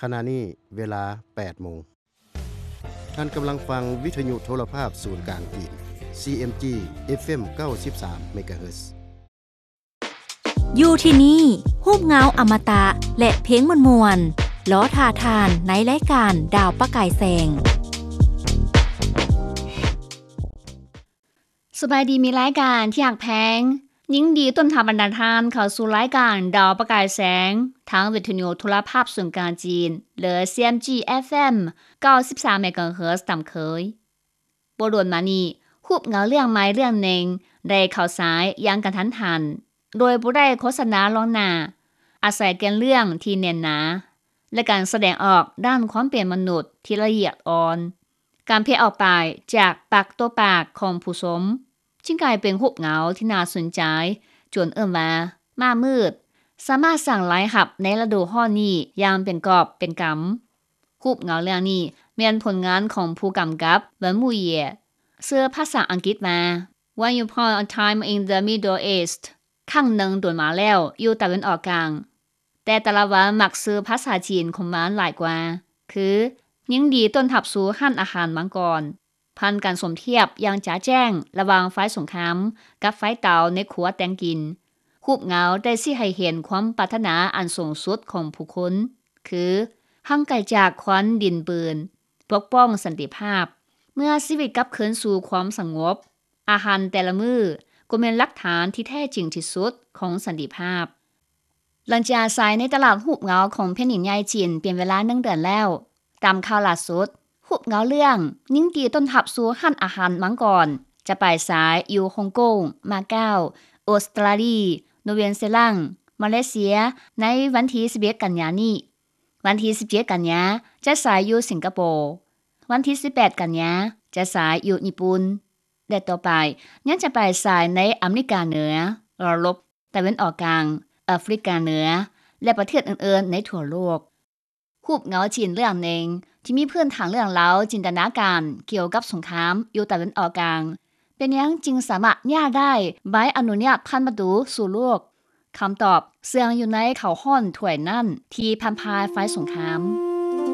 ຂະນະນີ້ເວລາແປດໂມງ. ທ່ານກຳລັງຟັງວິທະຍຸໂທລະພາບສູນກາງຈີນ ຊີເອັມຈີ ເອັຟເອັມ ເກົ້າສິບສາມ ເມກາເຮີດ. ຢູ່ທີ່ນີ້ ຮູບເງົາອະມະຕະ ແລະ ເພງມ່ວນໆ ລໍຖ້າທ່ານໃນລາຍການດາວປະກາຍແສງ. ສະບາຍດີ ມິດລາຍການທີ່ຮັກແພງ. ຍິນດີຕ້ອນຮັບບັນດາທ່ານເຂົ້າສູ່ລາຍການດາວປະກາຍແສງ ທາງວິທະຍຸໂທລະພາບສູນກາງຈີນ ຫຼື ຊີເອັມຈີ ເອັຟເອັມ ເກົ້າສິບສາມ ເມກາເຮີດຕາມເຄີຍ. ບໍ່ດົນມານີ້ ຮູບເງົາເລື່ອງໃໝ່ເລື່ອງໜຶ່ງໄດ້ເຂົ້າສາຍຢ່າງກະທັນຫັນ ໂດຍບໍ່ໄດ້ໂຄສະນາລ່ວງໜ້າ, ອາໄສແກ່ນເລື່ອງທີ່ແໜ້ນໜາ ແລະ ການສະແດງອອກດ້ານຄວາມເປັນມະນຸດທີ່ລະອຽດອ່ອນ, ການແຜ່ອອກໄປຈາກປາກຕໍ່ປາກຂອງຜູ້ຊົມ ຈຶ່ງກາຍເປັນຮູບເງົາທີ່ໜ້າສົນໃຈ ຈົນເອີ້ນວ່າ ມ້າມືດ ສາມາດສ້າງລາຍຮັບໃນລະດູຮ້ອນນີ້ຢ່າງເປັນກອບເປັນກຳ. ຮູບເງົາເລື່ອງນີ້ແມ່ນຜົນງານຂອງຜູ້ກຳກັບ ວັນມູເຢຍ ຊື່ພາສາອັງກິດວ່າ Once Upon a Time in the Middle East ຄັ້ງໜຶ່ງດົນມາແລ້ວຢູ່ຕາເວັນອອກກາງ, ແຕ່ແຕ່ລະວັນມັກຊື່ພາສາຈີນຂອງມັນຫຼາຍກວ່າ ຄື ຍິນດີຕ້ອນຮັບສູ່ຮ້ານອາຫານມັງກອນ. ຜ່ານການສົມທຽບຢ່າງຈະແຈ້ງລະຫວ່າງໄຟສົງຄາມກັບໄຟເຕົາໃນຄົວແຕ່ງກິນ, ຮູບເງົາໄດ້ຊີ້ໃຫ້ເຫັນຄວາມປາດຖະໜາອັນສູງສຸດຂອງຜູ້ຄົນ ຄື ຫ່າງໄກຈາກຄວັນດິນບືນ, ປົກປ້ອງສັນຕິພາບ. ເມື່ອຊີວິດກັບຄືນສູ່ຄວາມສະຫງົບ, ອາຫານແຕ່ລະມື້ກໍແມ່ນຫຼັກຖານທີ່ແທ້ຈິງທີ່ສຸດຂອງສັນຕິພາບ. ຫຼັງຈາກສາຍໃນຕະຫຼາດຮູບເງົາຂອງແຜ່ນດິນໃຫຍ່ຈີນເປັນເວລາໜຶ່ງເດືອນແລ້ວ, ຕາມຂ່າວລ່າສຸດ, ຮູບເງົາເລື່ອງ ຍິນດີຕ້ອນຮັບສູ່ຮ້ານອາຫານມັງກອນ ຈະໄປສາຍຢູ່ຮົງກົງ, ມາເກົາ, ອົດສະຕຣາລີ, ໂນເວນເຊລັງ, ມາເລເຊຍ ໃນວັນທີສິບເອັດ ກັນຍານີ້. ວັນທີສິບເຈັດ ກັນຍາ ຈະສາຍຢູ່ສິງກະໂປ, ວັນທີສິບແປດ ກັນຍາ ຈະສາຍຢູ່ຍີ່ປຸ່ນ ແລະ ຕໍ່ໄປຍັງຈະໄປສາຍໃນອາເມລິກາເໜືອ, ເອີຣົບ, ຕາເວັນອອກກາງ, ອາຟຣິກາເໜືອ ແລະ ປະເທດອື່ນໆໃນທົ່ວໂລກ. ຮູບເງົາຈີນເລື່ອງໜຶ່ງທີ່ມີພື້ນຖານເລື່ອງລາວຈິນຕະນາການກ່ຽວກັບສົງຄາມຢູ່ຕາເວັນອອກກາງ ເປັນຫຍັງຈຶ່ງສາມາດຍາດໄດ້ໃບອະນຸຍາດຜ່ານປະຕູສູ່ໂລກ? ຄຳຕອບເຊື່ອງຢູ່ໃນເຂົ້າຮ້ອນຖ້ວຍນັ້ນທີ່ພັນພາຍໄຟສົງຄາມ.